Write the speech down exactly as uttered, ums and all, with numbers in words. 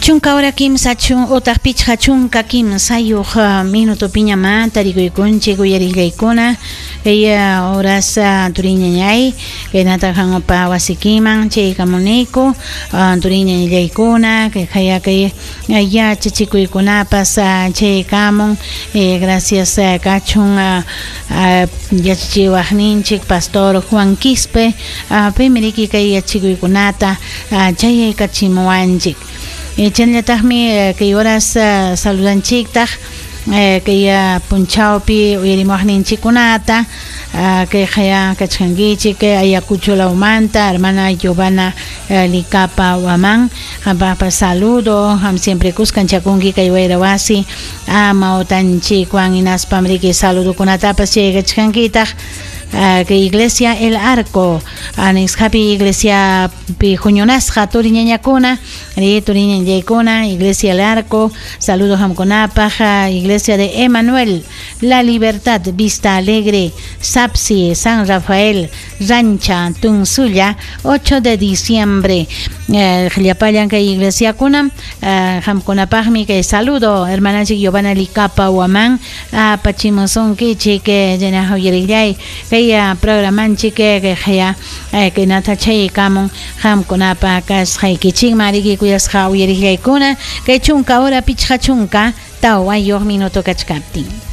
Chunka hora kimsa chun utaq pichqa chunka kimsayuq minutopiñamá tarikuykunchik uyariqllaykuna kay horas turiñañay kaynata hanpa wasikiman chaykamuniku turiñañallaykuna kay haya kay yachachikuykunapas chaykamun. Gracias kachun yachachiwaqninchik pastor Juan Quispe paymi riki kay yachachikuykunata chayaykachimuwanchik. Chaynallataqmi kay horas saludanchiktaq kay punchawpi uyarimuwaqninchikkunata kay haya kachkankichik Ayacucho lawmanta hermana Giovanna Licapa Huamán qampaqpas saludo qam siempre kuskanchakunki kay wayra wasi amawtanchikwan hinaspam riki saludokunatapas chaykachkankitaq kay iglesia El Arco anisqapi iglesia pi huñunasqa turiñañakuna ri turiñañaykuna iglesia El Arco saludos qamkunapaq iglesia de Emanuel La Libertad Vista Alegre Sapsi San Rafael Rancha Tunsulla ocho de diciembre llapallan kay iglesiakuna qamkunapaqmi kay saludo hermananchik Giovanna Licapa Huamán apachimusunkichik llena uyariqllay kay programanchik kay haya kaynata chaykamun qamkunapa kasqaykichikman riki kuyasqa uyariqllaykuna kay chunka hora pichqa chunka tawayuq minuto kachkaptin.